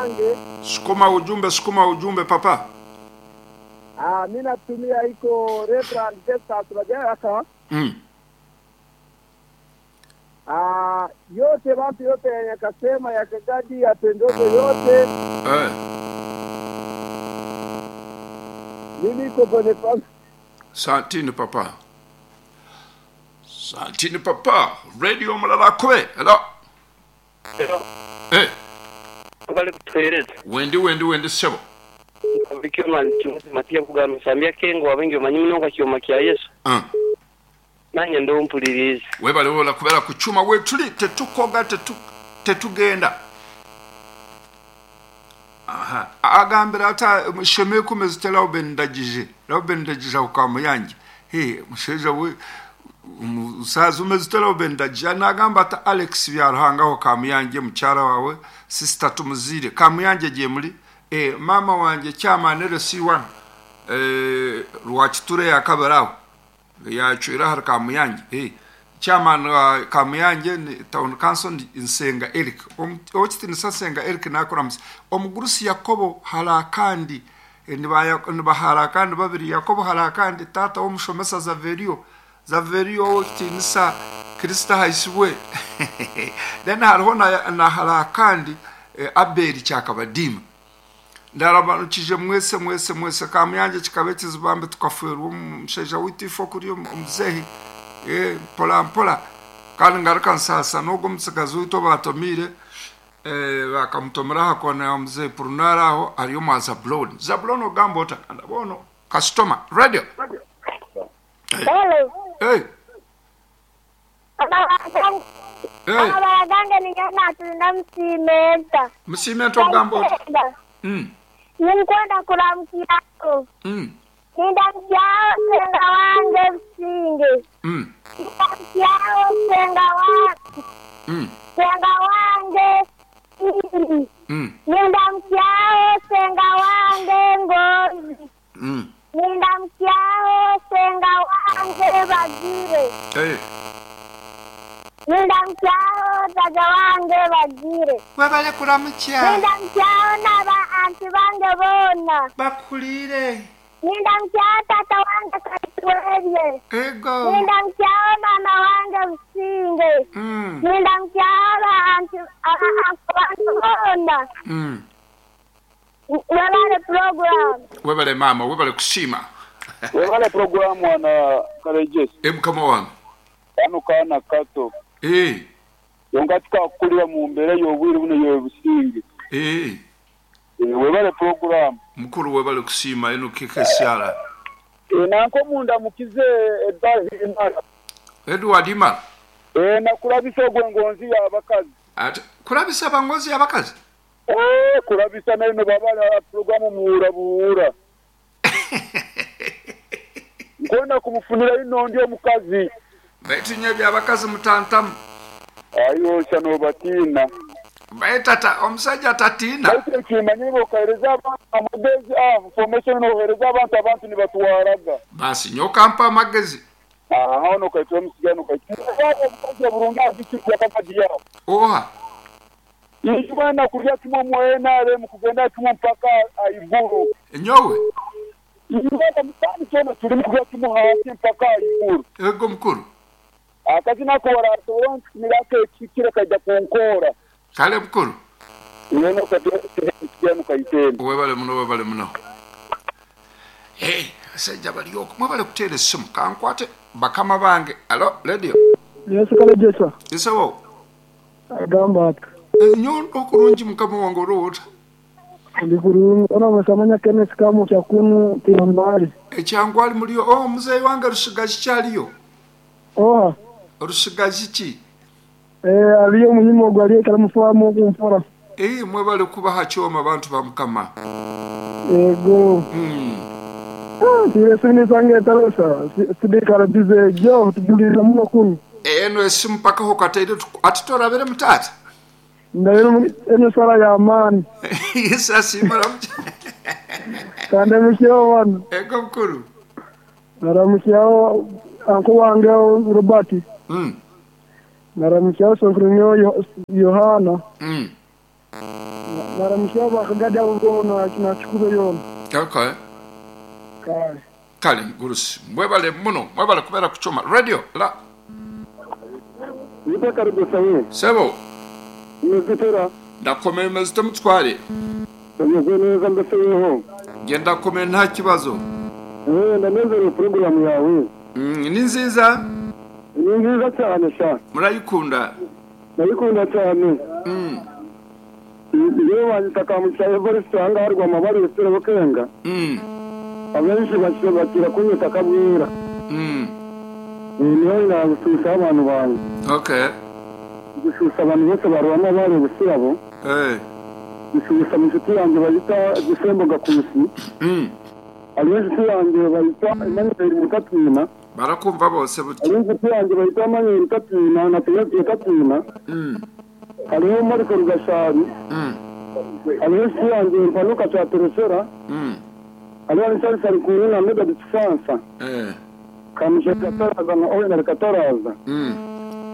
yange. Sukuma ujumbe, sukuma ujumbe papa. Ah, mi natumia iko Reverend Festus Bajaaka. Ah, yote bantu yote yakasema yakagadi yapendozo yote. Mimi iko Boniface. Santini papa. Santini papa. Radio Mulala kwe. Hello. Eh, Bali kutuhereza wendi wendi wendi sebo. Bikyoma matiya kugamba nsambya kengo wabengi omanyi munonga kyoma kya Yesu. Nanye ndo mpuliriza. Webale wola kubera ku kyuma wetuli tetukoga tetugenda. Aha. Agambira ata sheme kumeze Lauben Ndagije. Lauben Ndagije ukamuyange. He, musheja we umusaza umeze Lauben Ndagije nagamba ata Alex Byaruhangaho kamuyange mucyara wawe sister tumuzire kamuyange giye muri mama wanjye cyamanere C1 Rwakiture yakabaraho yacwira hari kamuyange chairman wa Kamuyange ni town council ni Nsenga Eric okitinisa Nsenga Eric nakoramusa omugurusi Yakobo harakandi nibaharakandi babiri Yakobo harakandi tata w'omushomesa Zaverio Zaverio okitinisa Krista haisibwe then hariho na harakandi Abeli Kyakabadima ndarabanukije mwese mwese mwese Kamuyange kikaba ekizibambe tukaferwa omushaija witu ifo kuri omuzehi mpola mpola kandi ngaruka nsasa n'ogwo omutsigazi witu batomire bakamutomera aha kona ya muzehi Purunara aho ariyo mwa Zabuloni Zabuloni ogamba ota ndabono customer radio. Hello. Hey. Hey. Amabara gange nigenda tulina musimenta. Musimenta ogamba ota. Ninkwenda kuramukirako. Nindamukyawo senga wange Businge. Nindamukyawo senga wange. Senga wange Iri. Nindamukyawo senga wange Ngozi. Nindamukyawo senga wange Bagire. Hey. Nindamukyawo taja wange Bagire. Webale kuramukya. Nindamukyawo n'aba anti bange boona. Bakulire. Nindamukyawo tata wange Kaitwerye. Ego. Nindamukyawo mama wange Businge. Nindamukyawo ba anti bange boona. Webale program. Webale mama, webale kusiima. Webale program wana Kalejesi. Mukama wange. Kano kaana kato. Yonga tukakulira mu mbeera y'obwire buno y'obusinge. Webale program. Mukuru webale kusiima eno kikesyala. Nanko munda mukize Edward Imara. Edward Imara. Nakulabisa ogw'engonzi y'abakazi. Ate kulabisa abangozi y'abakazi? Kulabisa nayo babala program muwura buwura. Nkonda kumufunira ino ndi omukazi. Baitu by'abakazi mutantamu. Ayo shano batina. Baitata omusajja tatiina. Baitu ekimanyire okahereza abantu amagezi, information nohereza abantu abantu nibatwaraga. Basi nyoka mpa amagezi. Aho nokaitwa omusigano kaitwa. Omukazi burungi azikirwa kakazi yawo. Oha. Ijwana kurya kimwe mu NRM kugenda kimwe mpaka aiguru. Nyowe. Ijwana mutani tona tuli kurya kimwe hasi mpaka aiguru. Ego mukuru. Akazi nako warasobora ntirake kikira kajya kunkora. Kale mukuru. Yeno kadiyano kayitende. Webale muno webale muno. Sajja bali ok mwebale kuteera essimu kankwate bakama bange. Alo radio. Yesu Kalejesa. Isewo. Agamba ati. Nyondo okurungi mukama wange olowota. Ndi kurungi ona musamanya Kenneth Kamu kyakunu tiyambali. Ekyangwali muliyo oh muzeeyi wange Rusigazi kyaliyo. Oha. Rusigazi ki? Aliyo muhimu ogwo aliyo kalamufamu okumfora. Mwebale kubaha kyoma abantu ba mukama. Ego. Tiresini sange tarosa sidikara bize jo tugulira muno kunu. Eno esimu paka ho kateire atitorabere mutata. Ndabere eno sala ya amani. Yesu asimara. Kande mukyo wano. Ego mukuru. Naramukiyaho anko wange Robert. Naramukiyaho Sofronio Yohana. Naramusya bakagadi abo boona nakikube yoona. Okay. Kale. Kale mugurusi, mwebale muno, mwebale kubeera ku kyoma. Radio la. Nite Karugusa we. Sebo. Umeze ute? Ndakomeye, umeze ute mutware? Umeze neza mbese weho? Nge ndakomeye nta kibazo. Ndanezerewe porogaramu yawe. Ni nziza? Ni nziza cyane sha. Murayikunda? Ndayikunda cyane. Yewe wanyita Kamugisha Evariste aha ngaha Rwamabare Rutare Bukenga. Abenshi bakira kunyita Kabwira. Niho nagushusha abantu banjye. Okay. Gushusha abantu bose ba Rwamabare Busirabo. Gushusha inshuti yanjye bayita Gisembo Gakusi. Hariho inshuti yanjye bayita Emmanuel Mukatwina. Barakumva bose butya. Hariho inshuti yanjye bayita Emmanuel Mukatwina na Timothy Katwina. Hariho Mariko Rugashari. Hariho inshuti yanjye Mpanuka Cyatereshera. Hariho Richard Sarikuru na Medard Kisansa. Kamugisha Kataraza na Owen Kataraza.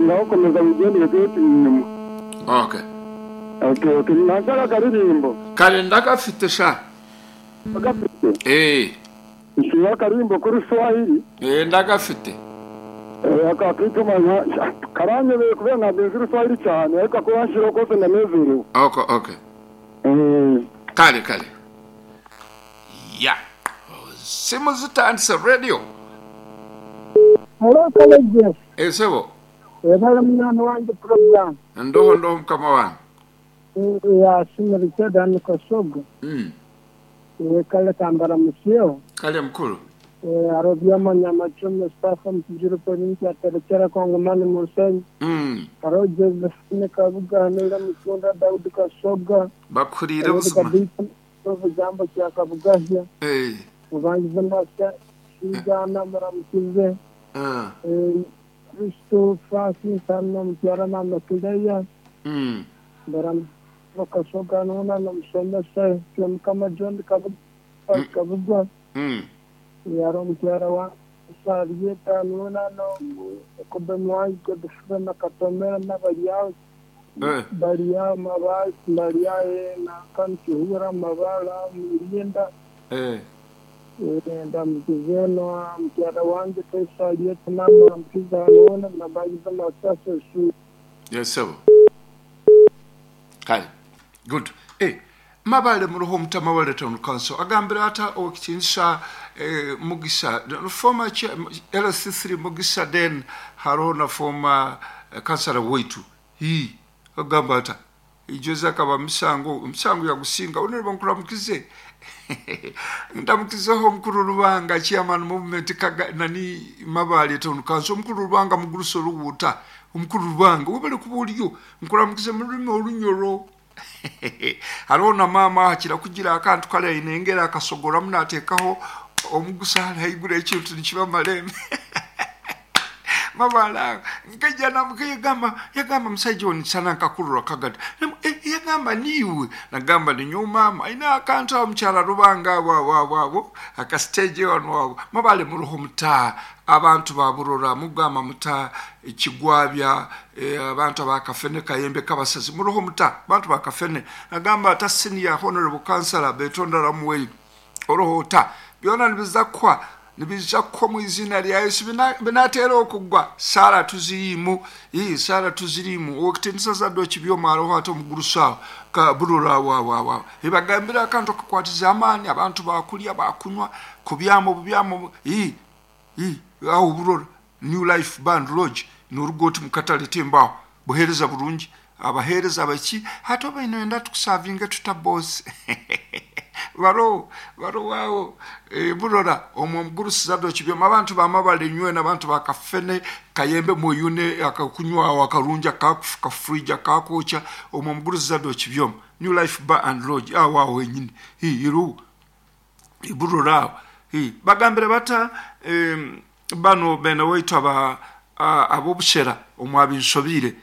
Ngaho komeza wigendere tujye turi inyuma. Okay. Okay, okay. Nashaka akaririmbo. Kare ndagafite sha. Agafite? Nshira akaririmbo kuri Swahili. Ndagafite. Akakitumanya karanyobeye kubera ntabwo nzi Uruswahili cyane ariko ako wanshiraho kose ndanezerewe. Okay, okay. Kale kale. Ya. Simu zitandise radio. Hello, Kalege. Sebo. Webale mwana wange program. Ndoho ndoho mukama wange. Ya simu Richard Kasogo. Kale tambara musio. Kale mukuru. Arobyama Nyamacho Mustafa Mtijiro Provinsi ya Terekera Kongomani Musenyi. Aro Josephine Kabuga Nira Mukunda Daudi Kasoga. Bakurire busuma. Jambo kya Kabugahya. Mubangize Masya Shigana Muramukize. Kristo Francis Anna Mukyara na Makileya. Kasoga nuna na Musomesa Mukama John Kabuga. Yaro mukyara wa Sariyeta nuna no Kobe Mwangi Godfrey na Katomera na Bariyaho Bariyaho Mabasi Bariyaho na Kankihura Mabala Murinda. Ndamukizeno mukyara wange Sariyeta na Mukiza nuna na Bagiza Masasa Su. Yes sir. Kale. Good. Mabale muruho mutama wa Town Council agambira ata okitinsa Mugisa former LC3 Mugisa then harona former councillor wetu hi agamba ata ijoza kaba misango yagusinga onere nkuramukize ndamukizeho mukuru Rubanga chairman movement kaga nani Mabale Town Council mukuru Rubanga muguruso ruwuta omukuru Rubanga webale kubuliyo nkuramukize mu rulimi olunyoro. Harona mama hakira kugira akantu kale inengera akasogora munatekaho omugusa haigura ekintu nikiba maleme. Mabala nkeja namukigamba yagamba musajja oni sana nkakurura kagata yagamba niwe nagamba ni mama ina akantu omukyala Rubanga wa aka stage wano wabo Mabale muruho muta abantu baburora mugamba muta ekigwabya abantu abakafene kayembe kabasazi muruho muta abantu bakafene nagamba ata senior honorable councillor Betonda Ramuwe oroho ta byona nibizakwa nibizakwa mu izina lya Yesu binatera okugwa sala tuzirimu sala tuzirimu okutinisa zaddo kibyoma aroho ate omugurusa ka burura wa ibagambira akantu kakwatiza amaani abantu bakulya bakunywa kubyamo bubyamo awo burora New Life Band Lodge n'urugoti mukatale tembaho buhereza bulungi abahereza abaki hato baino enda tukusavinga tuta boss baro wao burora omwo mugurusi zaddo kibyoma abantu bamabale nywe n'abantu bakafene kayembe muyune akakunywa akarunja kakufuka fridge akakocha omwo mugurusi zaddo kibyoma New Life Bar and Lodge awo wenyini iru burora bagambire bata bano bene wetu aba abobushera omwabinsobire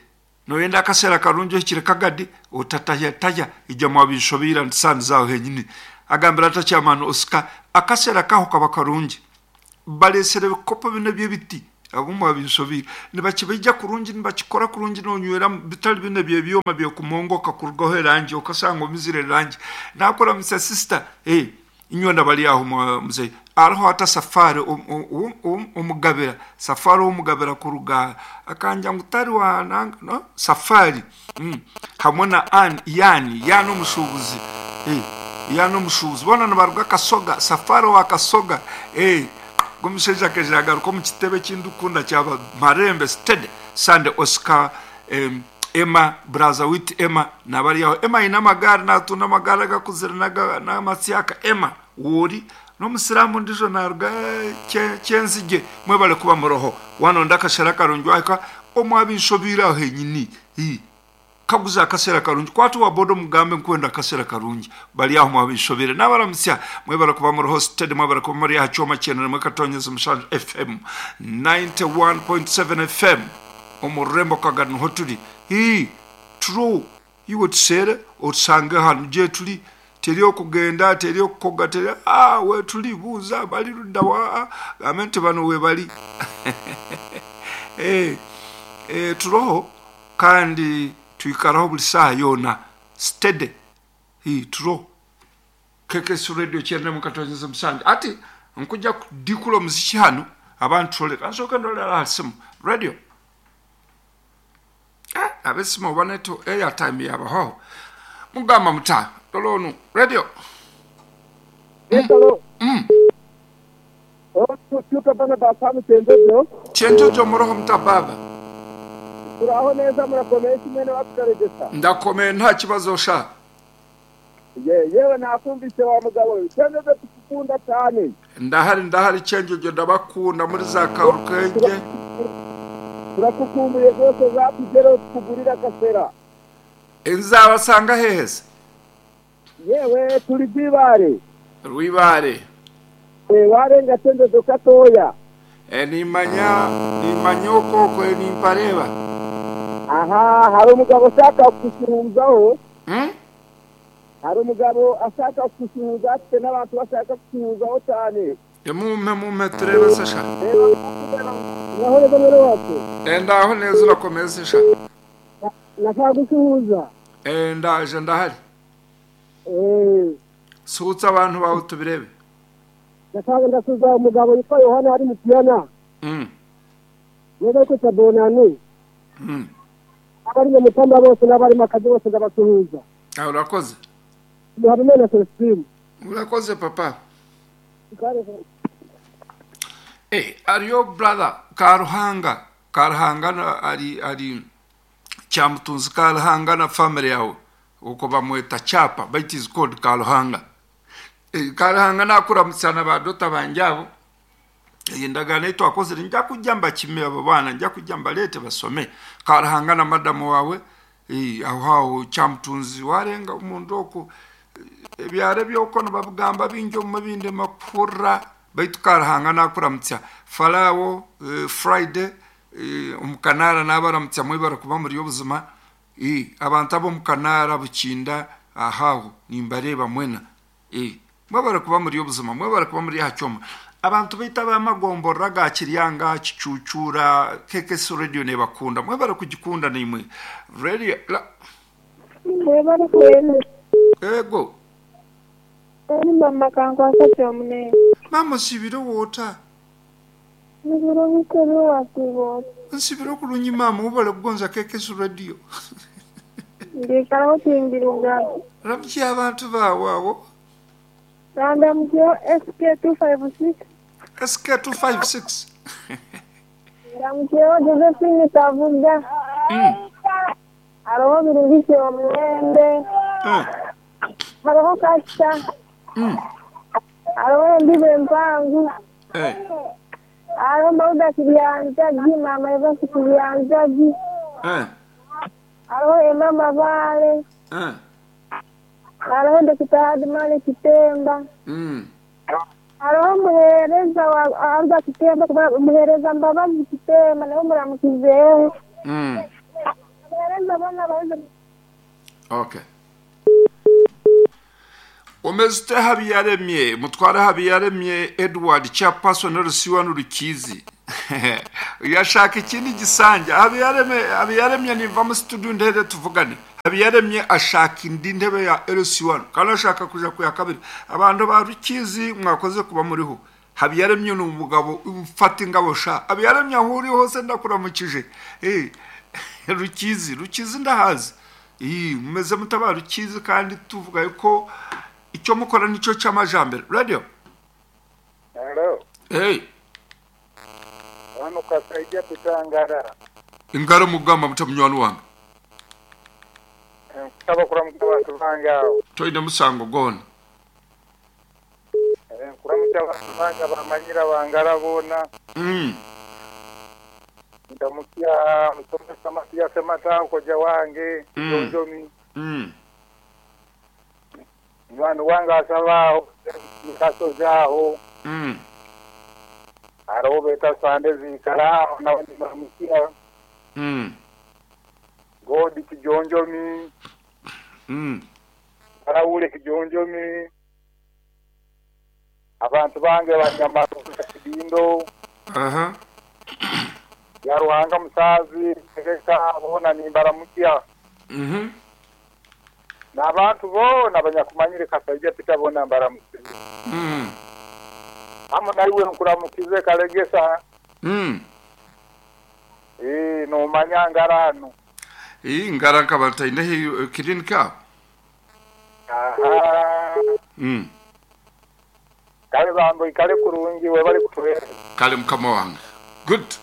noyenda akasera karunjo kire kagadi otataya taya ijja mwabinsobira nsanza henyini agambira ata chairman Oscar akasera kaho kaba karungi balesere bikopo bino byebiti Abumwe abinsobire nibakibaija kurungi, nibakikora kurungi, nonywera bitali bine byebyoma byokumongoka kurugaho erangi okasanga omizire erangi. Nakuramutsa sister, inywe nabali aho mzee ariho ata safari omugabira safari omugabira kuruga akanja ngutari wa no safari hamwe na an yani omushubuzi yani omushubuzi bona nibaruga Kasoga, safari wa Kasoga. Gomusheja kejagaruka mu kitebe kindukunda cyaba Marembe Steady Sunday Oscar Emma Brazawit Emma nabari yaho Emma ina magari natunda amagara gakuzira n'amatsiyaka Emma wori n'omusiramu ndijo naruga kyenzige mwebale kuba muroho wano ndakashara karungi waka omwabinshobira henyini kaguza akasera karungi kwatu wa bodo mugambe nkwenda akasera karungi bali aho mwabinshobire nabaramusya mwebale kuba muroho steady, mwebale kuba muri hachoma chenere mwekatonyeza mushanju FM 91.7 FM omurembo kagano hotuli true iwe tusere otusange hano je tuli teri okugenda teri okukoga teri we tuli buuza bali ludda wa amente bano we bali turoho kandi tuikaraho buli saha yona steady turoho KKS Radio chene mukatonyeza musanje ati nkuja kudikula muziki hano abantu tole kansoka ndolera simu radio abesimo baneto airtime yabaho mugamba muta tolonu radio Hello. Tuka bana basamu chenjojo chenjojo muroho mtababa turaho neza murakomeye kimwe watukaregesa ndakomeye nta kibazo sha yewe nakumvise wa mugabo chenjojo tukukunda cyane ndahari chenjojo ndabakunda muri za karukenge turakukumbuye rwose zatugeraho tukugurira kasera nzabasanga hehese yewe turi rwibare rwibare warenga chenjojo katoya nimanya okoko nimpareba aha hari umugabo ushaka kusuhuzaho hari umugabo ashaka kusuhuza afite n'abantu bashaka kusuhuzaho cyane mume turebe se sha Naho neza mwene wacu ndaho neza urakomeza sha nashaka gusuhuza ndaje ndahari suhutsa abantu bawe tubirebe ndashaka ndasuhuza umugabo witwa Yohana ari mu Kiyana neza ko tabonani abari mu mutamba bose n'abari mu kazi bose ndabasuhuza urakoze Habimana Celestine urakoze papa ariyo brother Karuhanga ari Kyamutunzi Karuhanga na family yawe uko bamweta chapa but is called Karuhanga. Karuhanga nakuramutsana badota banjabo endagano twakozere nja kujja mbakime abo bana nja kujja mbalete basome. Karuhanga na madamu wawe aho aho Kyamutunzi warenga umuntu oko ebyare byoko nabagamba binjo mu binde makura baitu Karuhanga nakuramutsa Farawo Friday umukanara nabaramutsa mwibara kuba muri obuzima abantu abo mukanara bukinda ahaho nimbareba mwena mwabara kuba muri obuzima mwabara kuba muri hachoma abantu bita bamagomborra ga Kiryanga Kicucura KKS Radio ne bakunda mwabara kugikunda nimwe radio mwabara kwene ego ni mama kangu asatyo mune mama sibiro wota nibiro bikero wasibo nsibiro kulunyi mama ubale kugonza KKS Radio ndikaraho tingiruga ramki abantu bawawo randa mjo SK256 SK256 ramkeo Josephine Kavuga aroho birungise omurembe hariho kasita hariho embibo empangu hariho Mauda Kibyanjagi mama Evasi Kibyanjagi hariho Emma Mabale hariho Dr. Hadimani Kitemba hariho muhereza wa Alba Kitemba muhereza Mbabazi Kitemba nawe muramukizeho muhereza bana baze. Okay. Omezite Habiyaremye, Mutware Habiyaremye Edward chairperson Rusiwa n'Urukizi. Yashaka ikindi gisanja. Habiyaremye niva mu studio ndere tuvugane. Habiyaremye ashaka indi ntebe ya LC1 kandi ashaka kuja ku ya kabiri. Abantu ba Rukizi mwakoze kuba muriho. Habiyaremye ni umugabo ufata ingabo sha. Habiyaremye aho uri hose ndakuramukije. Rukizi, Rukizi ndahazi. Mumeze mutaba Rukizi kandi tuvuga yuko icyo mukora nicyo cy'amajambere. Radio. Hello. Hey. Hano kasaidia pitangara. Ingaro mugamba mutamunywani wange. Nsaba kuramutsa abantu bange aho. Toine musango gona. Kuramutsa abantu bange bamanyira bangara bona. Ndamukia musomesa Matiya Semata koja wange Jonjomi. Mwana wange asabaho kasozaho. Hariho beta sande zikara nawe ndamukia. Godi Kijonjomi. Arawule Kijonjomi. Abantu bange banyama Kidindo. Ya Ruhanga musazi tegeka bona nimbaramukia. N'abantu bona abanyakumanyire kasajja pita bona mbaramukize. Amo naiwe nkuramukize kalegesa. No manyangarano. Ngara nkabataine clinic. Aha. Kale bambo ikale kurungi we bali kutuwera. Kale mukama wange. Good.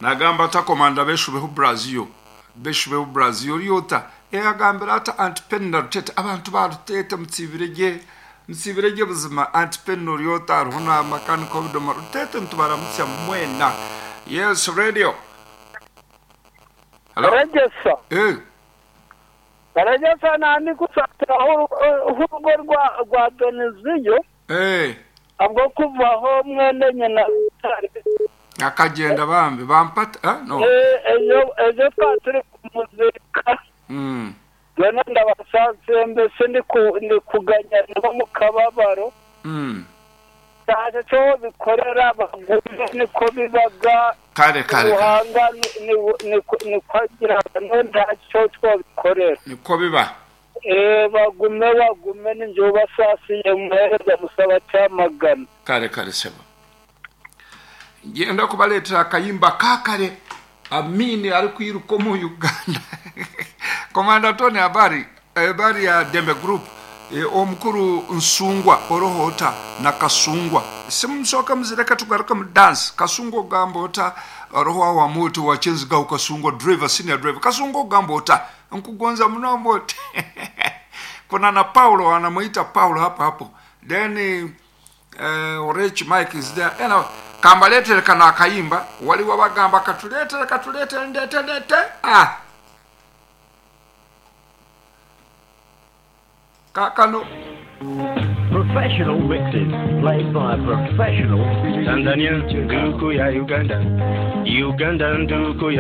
Nagamba ata komanda beshubeho Brazil. Beshubeho Brazil yota. Agambira ata Antipeni Rutete abantu ba Rutete mutsibirege. Mutsibirege buzima Antipeni Rutete hariho na makanika w'obudoma Rutete nitubaramutsa mwena. Yes, radio. Hello. Regesa. Regesa nandi kusatira urugo rwa Doniziyo. Abwo kuvaho mwene nyina akagenda bambi bampata no. Ejo turi kumuzika. None ndabasanze mbese ndi kuganya nabo mu kababaro. Ntacyo cyo bikorera bagume niko bibaga. Kare kare. Ruhanga niko agira ntacyo twabikorera. Niko biba. Bagume bagume ninjye basasiye muhereza musaba cyamagana. Kare kare sebo. Ngenda kubaletera akayimba kakare. Amini ari kwiruka mu Uganda. Komanda Tony habari habari ya Dembe Group. Omukuru Nsungwa orohota na Kasungwa. Simusoka muzireka tugaruka mu dance. Kasungwa gambota roho wa moto wa Chenziga Kasungwa driver senior driver. Kasungwa gambota nkugonza munombo. Kuna na Paulo anamuita Paulo hapo hapo. Then Orech Mike is there. Anyway, kambaletere kana akayimba wali wabagamba katuletere katuletere ndete ndete. Kakano. Professional mixes played by a professional. Tanzania nduku ya Uganda, Uganda nduku ya